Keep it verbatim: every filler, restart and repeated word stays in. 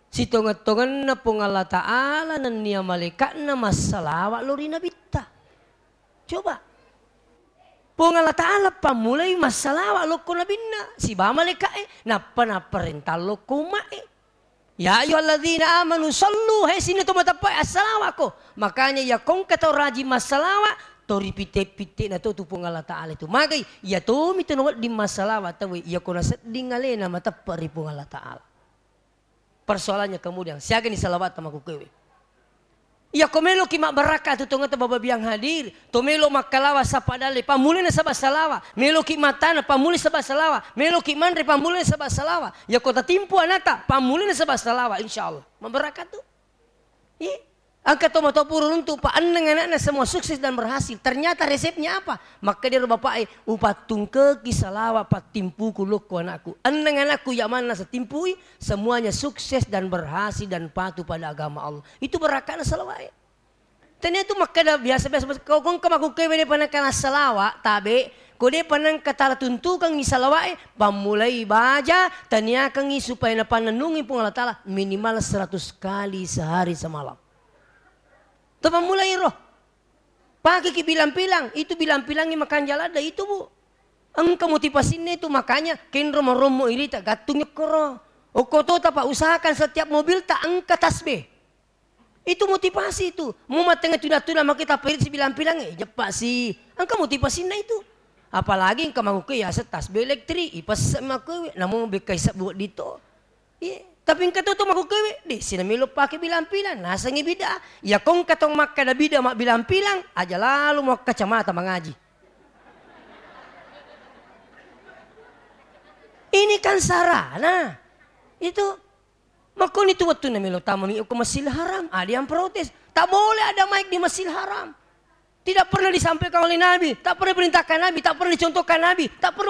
Sitongeng-tongenna Puang Allah Ta'ala nennia malaika'na massalawa lao ri Nabitta. Coba. Puang Allah Ta'ala pammulai massalawa lokko nabinna, sibawa malaika'e, nappa napparentang lokko umma'e. Ya ayyuhalladzina amanu sallu, he sininna to mateppe'e, assalawako. Makanya iya kongka tau rajing massalawa, to ripitte-pitte'na to tu Puang Allah Ta'ala itu. Magai, iya tomi to nawedding massalawa tauwe, iya ko nasedding alena mateppe' ri Puang Allah Ta'ala. Persoalannya kemudian, siagani salawatta makkukkuewe? Iya ko meloki mabbarakka tu tongetta baba biang hadir, to melo makkalawa sappa dalle, pammulai nasaba salawa, meloki mattana, pammulai saba salawa, meloki manre, pammulai saba salawa, iya ko tatimpu anata, pammulai nasaba salawa, insyaallah. Mabbarakka tu. Iya. Engka to mato pura runtu, pa enneng anakna semua sukses dan berhasil. Ternyata resepnya apa? Makkeda ro bapa'e, "Upattungkeki salawa pattimpuku lokko anakku. Enneng anakku iya manna setimpui, semuanya sukses dan berhasil dan patuh pada agama Allah." Itu barakkana salawa'e. Tania tu makkeda biasa-biasa, kau kongka makkukkuewe depa nengka nassalawa, tabe, ko depa nengka tala tuntukangngi salawa'e, pammulai baja, taniakangngi supaya napannennungi Puang Allah Ta'ala minimal seratus kali sehari semalam. Tapammulai ro. Pakeki bilang-bilang, itu bilang-bilangngi makanja ladde itu, Bu. Engka motivasinna itu, makanya kenro marommo irita gattung ekkoro. Okko tota, Pak, usahakan setiap mobilta engka tasbih. Itu motivasi itu. Mau mattengnga tuna-tuna maki tappa irita sibilang-bilang, eh, jeppa si. Engka motivasinna itu. Apalagi engka makkukkuewe yaseng tasbih elektrik, ipesse makkukkuewe, namo bekkai sebbu wedding to. Iya, tapi engka to, to makkukkuewe, de, sina melo pake bilang-bilang, nasengngi bid'ah. Iya ko engka to makkeda bid'ah mabbilang-bilang, aja lalo mo kacamata mangaji. Ini kan sarana. Itu makkoni tu wettunna melo tamani ko Masjidil Haram, ada yang protes. Tak boleh ada mic di Masjidil Haram. Tidak pernah disampaikan oleh Nabi, tak pernah diperintahkan Nabi, tak pernah dicontohkan Nabi, tak pernah